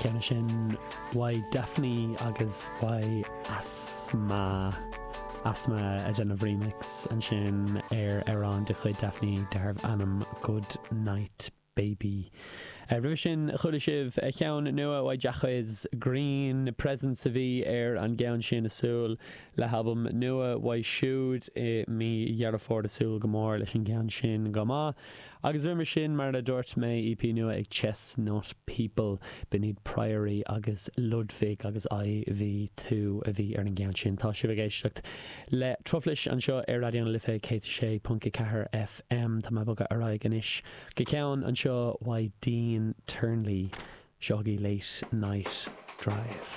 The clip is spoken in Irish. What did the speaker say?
Ceann sin uaidh Daphni agus uaidh Asma Asma ag déanamh remix ansin ar amhrán de chuid Daphni darbh ainm Good Night Baby. Roimhe sin chuala sibh ceann nua uaidh Jacquees Green, Presence a bhí ar an gceann sin ag súil le halbam nua uaidh siúd i mí Dheireadh Fómhair ag súil go mór leis an gceann sin go maith. Agus roimhe sin, mar a dúirt mé, EP nua ag Chestnut People, b'in iad Priory agus Ludwig agus IV2 a bhí ar an gceann sin. Tá sibh ag éisteacht le Truflais anseo ar Raidió na Life 106.4 FM. Tá mé ag bogadh ar aghaidh anois go ceann anseo uaidh Dean Turnley, seo chugaibh Late Night Drive.